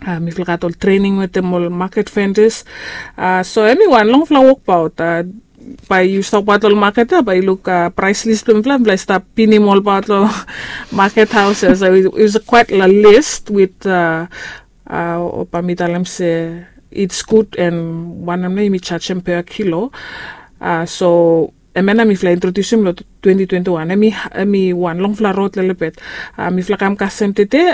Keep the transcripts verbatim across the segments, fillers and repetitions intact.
Mifala gat ol trening wetem ol maket fendas. So em i wan longfala wokbaot. Bae yu stap bat ol maket ya bae yu luk praes lis blong mifala, mifala i stap pinim ol bat long maket haus ya. So it was quite a list with, bae mi talem se it's good and wanem nao yumi jajem per kilo. So em ya nao mifala introdiusim long twenty twenty one. Em i wan longfala rod lelebet. Mifala kam kasem tede,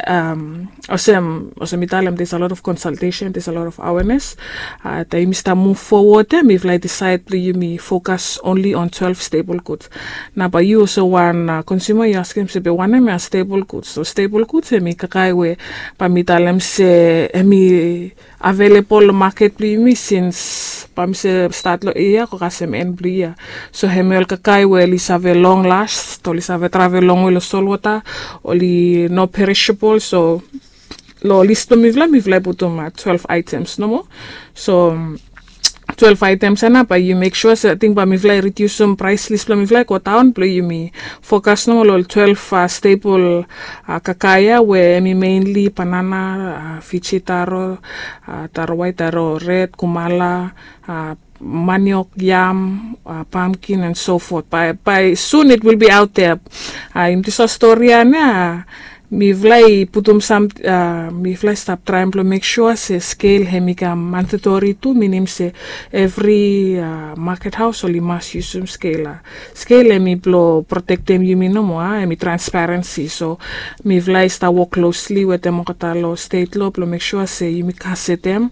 olsem mi talem, there's a lot of consultation, there's a lot of awareness. Taem yumi stap muv fowod ya mifala i disaed blong yumi fokas only on twelve stable goods. Nao bae yu olsem wan konsuma yu askem se be wanem ya stable goods? So stable goods em i kakae we bae mi talem se em i avelebol long maket blong yumi sins bae mi se stat long yia go kasem en blong yia. So em i ol kakae we oli save long last, oli save travel longwe long solwota, oli no perishable. So long lis blong mifala, mifala i putum twelve items nomo. So twelve items ya nao bae yu mek sua se ating bae mifala i ridiusim praes lis blong mifala i go daon blong yumi fokas nomo long ol twelve stable kakae ya we em i mainly banana, Fiji taro, taro waet, taro red, kumala, maniok, yam, pumpkin and so forth. Bae soon it will be out there. Yumi dispela stori ya nao mifala i putum sam, mifala i stap traem blong mek sua se skel em i kam mandatori tu, minim se evri maket haus oli mas yusum skel. Skel em i blong protektem yumi nomo, em i transparensi. So mifala i stap wok klosli wetem olgeta long stet lo blong mek sua se yumi kasetem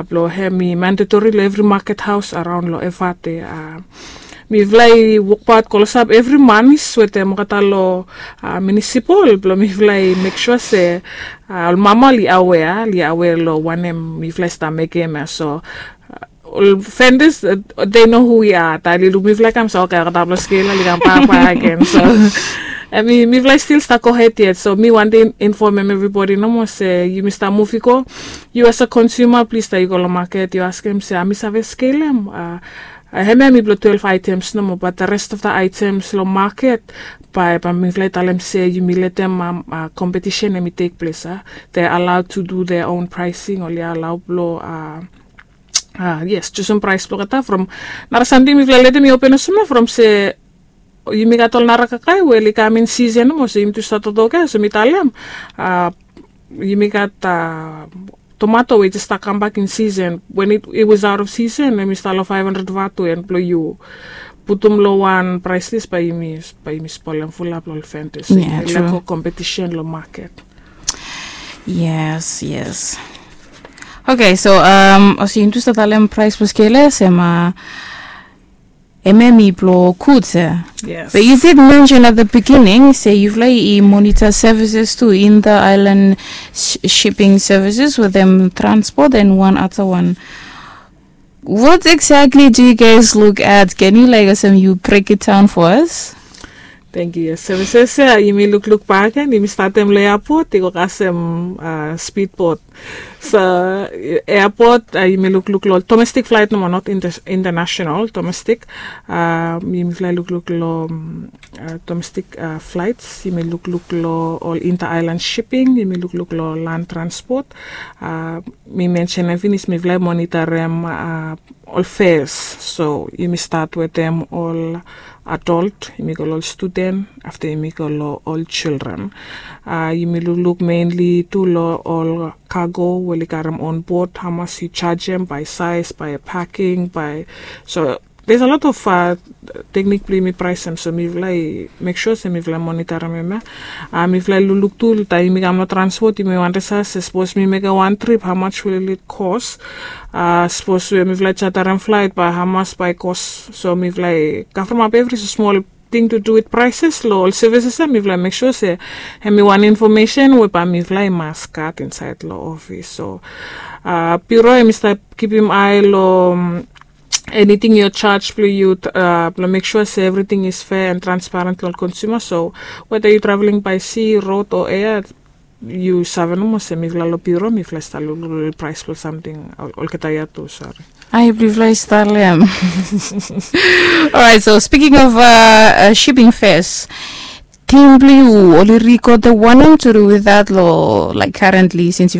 blong em i mandatori long evri maket haus araon long Efate. Mifala i wokbaot klosap evri manis wetem olgeta long minisipol blong mifala i mek sua se ol mama oli awea, oli awea long wanem mifala i stap mekem ya. So ol fendas, they know who we are. Taem oli luk mifala i kam, so okay, olgeta blong skel oli kam bak bak agen. So em i, mifala i stil stap gohed yet. So mi wantem infomem evribodi nomo se yumi stap muv i go. Yu as a konsuma, plis taem yu go long maket yu askem se, a mi save skelem? Hemia em i blong twelve items nomo, but the rest of the items long maket, bae, bae mifala i talem se yumi letem kompetisen em i tek ples. They are allowed to do their own pricing, oli allow blong, yes, jusum praes blong olgeta from nara samting mifala letem i open olsem ya from se yumi gat ol nara kakae we oli kam in season nomo, so yumi tu stap toktok ya, so mi talem yumi gat tomato we i jes stap kambak in season. When it, it was out of season, em i stap long five hundred vatu, and blong yu putum long wan praes lis, bae yumi, bae yumi spolem fulap long ol fendas. Yeah, true. Leko kompetisen long maket. Yes, yes. Okay, so um, olsem yumi tu stap talem praes blong skel ya, se em, uh, em em i blong goods ya. Yes. But you did mention at the beginning se yufala i monitor services tu, inter-island sh- shipping services, wetem transport and one other one. What exactly do you guys look at? Can you, like, olsem, you break it down for us? Thank you. Yes, services ya yumi lukluk bak gen, yumi statem long airport i go kasem speedboat. So airport, yumi lukluk long domestic flight nomo, not international, domestic. Yumi fly lukluk long domestic flights, yumi lukluk long ol inter-island shipping, yumi lukluk long land transport. Mi mensenem finis mifala i monitorem ol fares. So yumi stat wetem ol adult, yumi go long ol student, afta yumi go long ol children. Yumi lukluk mainly tu long ol cargo we oli karem on board, hamas yu jajem, by size, by packing, by, so there's a lot of teknik blong yumi praesem. So mifala i mek sua se mifala i monitorem hemia. Mifala i lukluk tu taem yumi kam long transport, yumi wantem save se sapos mi mekem wan trip, how much will it cost? Sapos we mifala i jatarem flight, bae hamas bae i cost? So mifala i kavremap evri smol thing to do with prices long ol services ya, mifala i mek sua se hemi wan infomesen we bae mifala i mas gat insaed long ofis. So bureau hemi stap kipim ae long anything yu charge blong yu, blong mek sua se everything is fair and transparent long ol konsuma. So whether yu traveling by sea, road o air, yu save nomo se mifala long bureau mifala i stap lukluk long praes blong samting olgeta ya tu. Sori. Ae blong yufala i stap long hem. Alright, so speaking of shipping fares, tim blong yu oli rikod wanem tu du with that lo, like, currently, since